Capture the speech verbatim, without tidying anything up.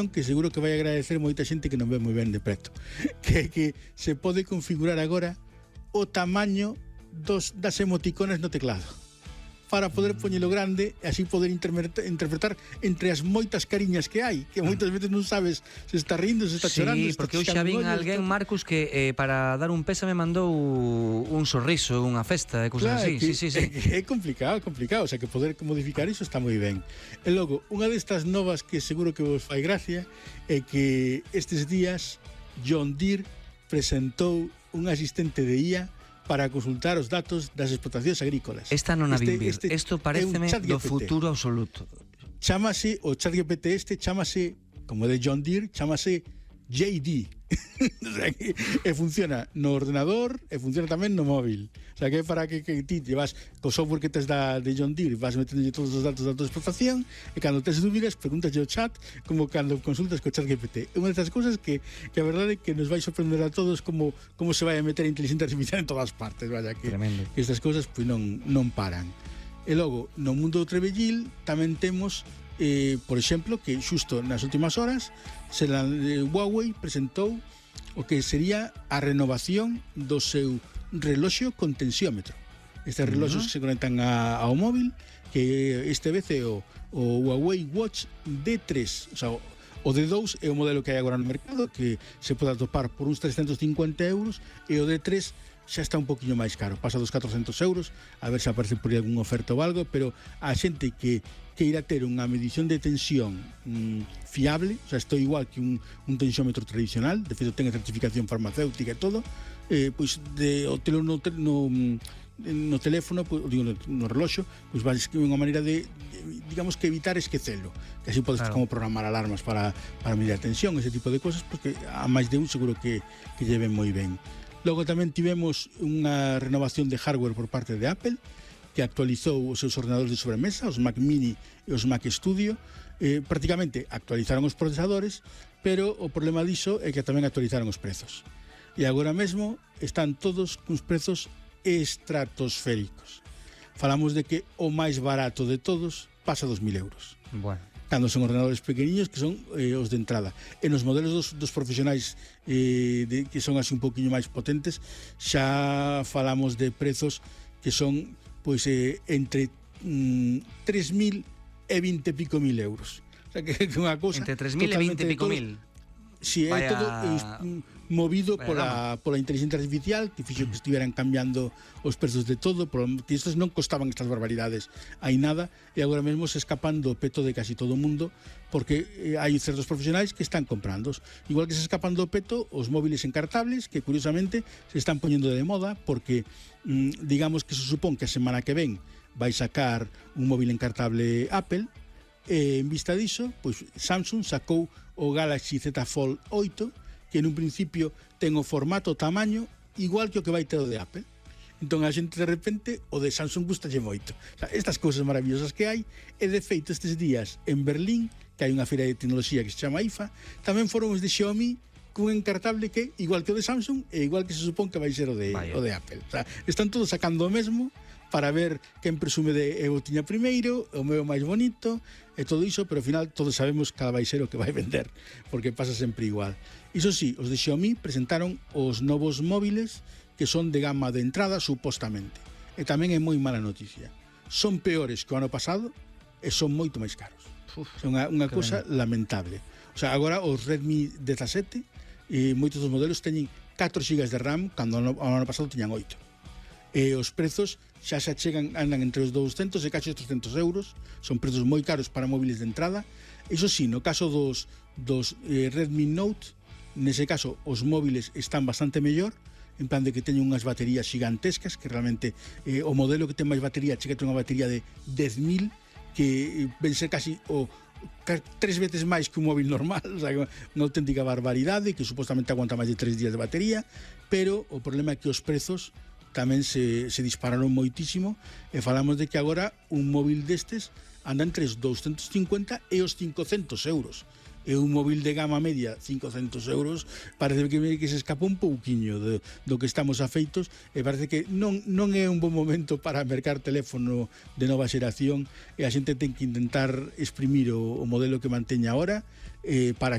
que seguro que vai agradecer moita xente que non ve moi ben de preto, que que se pode configurar agora o tamaño dos das emoticones no teclado para poder poñelo grande e así poder interpretar entre as moitas cariñas que hai, que moitas veces non sabes se está rindo, se está sí, chorando. Sí, porque eu xa vin alguén, Marcus, que eh, para dar un pésame mandou un sorriso, unha festa e cousas claro, así. Que, sí, sí, sí. É, é complicado, complicado, o sea, que poder modificar iso está moi ben. E logo, unha destas novas que seguro que vos fai gracia é que estes días John Deere presentou un asistente de I A para consultar os datos das explotacións agrícolas. Esta non a vin vir. Isto pareceme do futuro absoluto. Chámase, o ChatGPT este, chámase, como de John Deere, chámase J D. O sea, que, e funciona no ordenador e funciona tamén no móvil. O sea, que é para que, que ti llevas co software que tes da, de John Deere, vas metendo todos os datos da tua explotación e cando tes dúbidas preguntas ao chat como cando consultas co ChatGPT. É unha destas cousas que, que a verdade é que nos vai sorprender a todos como, como se vai a meter a inteligencia artificial en todas partes. Vaya, que, que estas cousas pues, non, non paran. E logo, no mundo do trebellil tamén temos eh, por exemplo, que xusto nas últimas horas se la, eh, Huawei presentou o que sería a renovación do seu reloxo con tensiómetro. Estes reloxos uh -huh. que se conectan a, ao móvil, que este vez é o, o Huawei Watch D tres, o sea, o D dos é o modelo que hai agora no mercado, que se pode atopar por uns trescentos cincuenta euros, e o D tres xa está un poquinho máis caro, pasa dos catrocentos euros, a ver se aparece por aí algún oferta ou algo, pero a xente que queira ter unha medición de tensión mmm, fiable, o sea, estou igual que un, un tensiómetro tradicional, de feito ten a certificación farmacéutica e todo, eh, pois de, o telo no, no, no teléfono, pues, digo, no, no reloxo, pois vai ser unha maneira de, de, digamos que evitar esquecelo, que así podes claro. como programar alarmas para, para medir a tensión, ese tipo de cosas, porque a máis de un seguro que, que lleven moi ben. Logo tamén tivemos unha renovación de hardware por parte de Apple, que actualizou os seus ordenadores de sobremesa, os Mac Mini e os Mac Studio. Eh, prácticamente actualizaron os procesadores, pero o problema diso é que tamén actualizaron os prezos. E agora mesmo están todos cuns prezos estratosféricos. Falamos de que o máis barato de todos pasa dos mil euros. Bueno. Cando son ordenadores pequeniños que son eh, os de entrada. E nos modelos dos, dos profesionais eh, de, que son así un poquinho máis potentes, xa falamos de prezos que son pois eh, entre mm, tres mil e vinte pico mil euros. O sea, que é unha cousa entre tres mil e vinte pico mil. Si, é Vaya... todo eh, movido pola, pola inteligencia artificial, que fixo que estiveran cambiando os prezos de todo, porque estes non costaban estas barbaridades hai nada, e agora mesmo se escapan do peto de casi todo o mundo, porque eh, hai certos profesionais que están comprando. Igual que se escapan do peto os móviles encartables, que curiosamente se están poñendo de moda, porque mm, digamos que se supón que a semana que ven vai sacar un móvil encartable Apple, e en vista diso, pois Samsung sacou o Galaxy Z Fold oito, que en un principio ten o formato, o tamaño igual que o que vai ter o de Apple. Entón a xente de repente o de Samsung gustalle moito. O sea, estas cousas maravillosas que hai, e de feito estes días en Berlín, que hai unha feira de tecnoloxía que se chama I F A, tamén foron os de Xiaomi cun encartable que igual que o de Samsung e igual que se supón que vai ser o de, o de Apple. O sea, están todos sacando o mesmo para ver quen presume de eu tiña primeiro, o meu máis bonito e todo iso, pero ao final todos sabemos cada vai ser o que vai vender, porque pasa sempre igual. Iso sí, os de Xiaomi presentaron os novos móviles que son de gama de entrada supostamente, e tamén é moi mala noticia, son peores que o ano pasado e son moito máis caros. Uf, é unha, unha cousa ben. lamentable. O sea, agora os Redmi dezasete e moitos dos modelos teñen catro gigas de RAM cando o ano pasado tiñan oito. E os prezos xa se chegan, andan entre os douscentos e casi trescentos euros, son prezos moi caros para móviles de entrada. Iso sí, no caso dos, dos eh, Redmi Note, nese caso os móviles están bastante mellor, en plan de que teñen unhas baterías gigantescas, que realmente eh, o modelo que ten máis batería chega a ter unha batería de dez mil, que eh, ven ser casi o tres veces máis que un móvil normal, o sea, unha auténtica barbaridade, que supostamente aguanta máis de tres días de batería, pero o problema é que os prezos tamén se, se dispararon moitísimo, e falamos de que agora un móvil destes anda entre os douscentos cincuenta e os cincocentos euros. e un móvil de gama media cincocentos euros, parece que, que se escapa un pouquiño de, do que estamos afeitos, e parece que non, non é un bon momento para mercar teléfono de nova xeración, e a xente ten que intentar exprimir o, o modelo que manteña ahora, eh, para